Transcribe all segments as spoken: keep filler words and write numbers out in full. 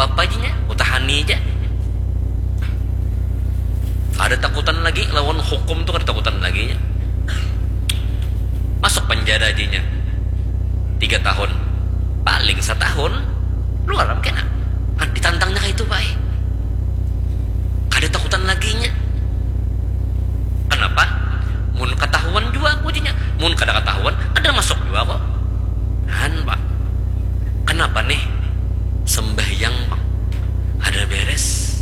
Apa jinya? Utahani ja. Kada takutan lagi lawan hukum tu, kada takutan lagi nya. Masuk penjara jinya tiga tahun, paling satahun luar am kena. Kan ditantangnya kayak itu baik. Kada takutan lagi nya. Kenapa? Mun ketahuan juga aku jinya. Mun kada ketahuan, kada masuk juga kok. Han pak. Kenapa nih? Sembahyang pak. Ada beres.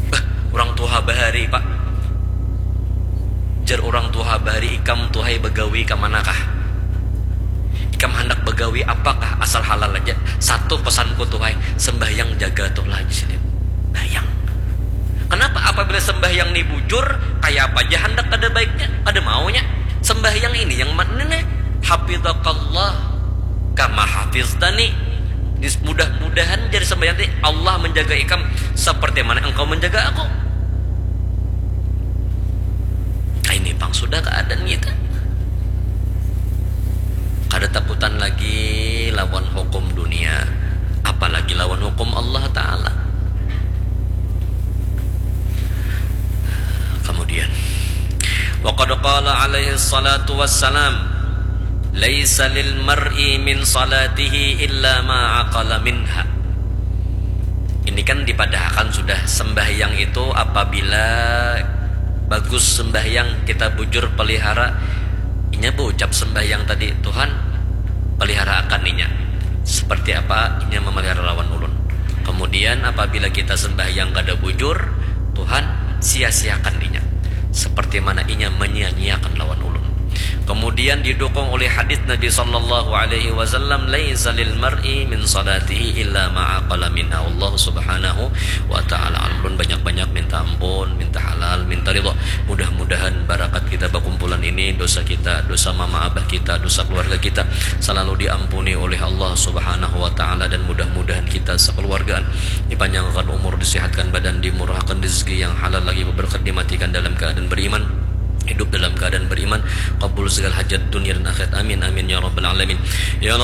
Bah, orang tua bahari pak. Jar orang tua bahari, ikam tuhai bagawi ke manakah? Ikam hendak bagawi apakah asal halal aja? Satu pesanku tuhai, sembahyang jaga tuh lah di sini. Bayang. Kenapa apabila sembahyang ni bujur, kayak apa aja hendak kada baiknya, kada maunya? Sembahyang ini yang mana nih? Hafidhakallah kama hafiztani. Mudah-mudahan jadi sembahyang tadi Allah menjaga ikam seperti mana engkau menjaga aku. Ini pang sudah keadaan kita. Kada takutan lagi lawan hukum dunia, apalagi lawan hukum Allah Ta'ala. Kemudian, wa qad qala alaihi salatu wassalam, laisa lil mar'i min salatihi illa ma aqala minha. Ini kan dipadahakan sudah, sembahyang itu apabila bagus sembahyang, kita bujur pelihara, inya berucap sembahyang tadi, Tuhan, pelihara akan inya seperti apa inya memelihara lawan ulun. Kemudian apabila kita sembahyang kada bujur, Tuhan sia-siakan inya seperti mana inya menyia-nyiakan lawan ulun. Kemudian didukung oleh hadis Nabi sallallahu alaihi wasallam, laisa lil mar'i min salatihi illa ma aqala minha. Allah subhanahu wa ta'ala. Ulun banyak-banyak minta ampun, minta halal, minta ridho. Mudah-mudahan barakat kita bakumpulan ini, dosa kita, dosa mama abah kita, dosa keluarga kita selalu diampuni oleh Allah subhanahu wa ta'ala, dan mudah-mudahan kita sekeluargaan dipanjangkan umur, disehatkan badan, dimurahkan rezeki yang halal lagi berkat, dimatikan dalam keadaan beriman, hidup dalam keadaan beriman, kabul segala hajat dunia dan akhirat. Amin, amin, ya rabbal alamin. Ya